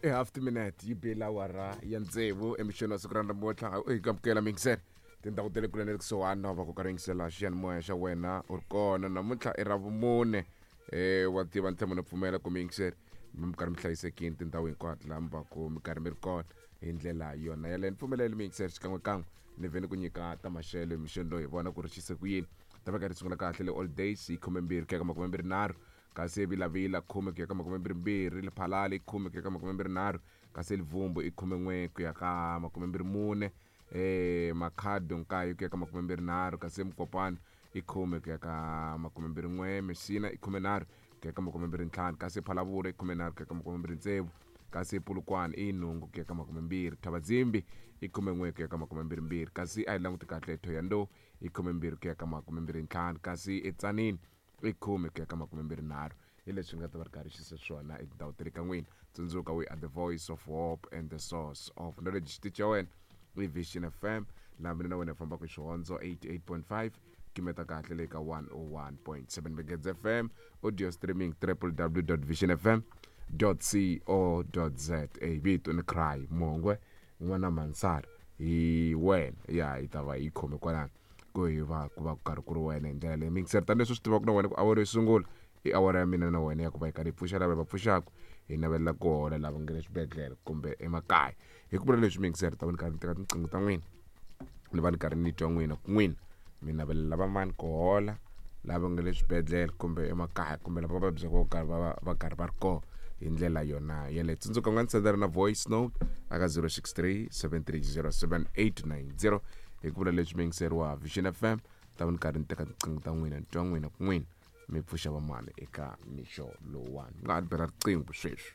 I half timinete yi bile awara ya tsevu emixweni wa siku ra namuntlha. Hi amukela mingiseri tindhawu ta le kule na le kusuhani na va ku karhi yingisela xiyanimoya xa wena u ri kona. Namuntlha i ra vumune, wa tiva ni tshama ni pfumela ku miyingiseri mi karhi mi hlayisekini tindhawu hinkwato laha mi va ku mi karhi mi ri kona hi ndlela yona yaleyo. Ni pfumeleli miyingiseri xikan'wekan'we ni vhe ni ku nyika ta maxelo emixweni loyi, hi vona ku ri xise ku yini. Ta va karhi sungula kahle le Old Days hi 12 ku ya ka 23, kasi Vilavila 10 ku ya ka 22, Lephalale i 10 ku ya ka 23, kasi Livumbu i 11 ku ya ka 24, Makhado 9 ku ya ka 23, kasi Mukopano i 10 ku ya ka 21, Messina i 13 ku ya ka 25, kasi Phalavura i 13 ku ya ka 26, kasi Polokwane i 8 ku ya ka 20, Thabazimbi i 11 ku ya ka 22, kasi a hi languti kahle Thohoyandou i 12 ku ya ka 25, kasi eTsanini i 10 ku ya ka 23. Hi leswi nga ta va ri karhi xise swona etindhawu ta le ka n'wina. Tsundzuka, we are the voice of hope and the source of knowledge. Xitichi xa wena i Vision FM, laha mina na wena hi fambaka hi xihondzo 88.5 kimeta kahle le ka 101.7 Megedz FM, audio streaming www.visionfm co za. Vito ni Cry Mongwe n'wana Mansara, hi wena ya hi ta va hi khome kwalano ku hi va ku va ku karhi ku ri wena hi ndlela leyi mingiseri. Tani leswi swi tivaka na wena ku awara yo sungula i awara ya mina na wena ya ku va hi karhi hi pfuxa lava hi va pfuxaka, hi navelela ku hola lava nga le swibedhlele kumbe emakaya. Hi ku vula leswi mingiseri, ta va ni karhi ni teka tinqingho ta n'wina, ni va ni karhi ni twa n'wina ku n'wina mi navelela va mani ku hola, lava nga le swibedhlele kumbe emakaya kumbe lava va vabyaka va karhi va va karhi va ri kona hi ndlela yona yeleyo. Tsundzuka u nga ni sendela na voice note aka 063 730 7890. Hi ku vula leswi mingiseri wa Vision FM, ta va ni karhi ni teka tinqingho ta n'wina, ni twa n'wina ku n'wina mi pfuxa vamani eka mixo lowuwani. Mi nga ha ni bela riqingho sweswi.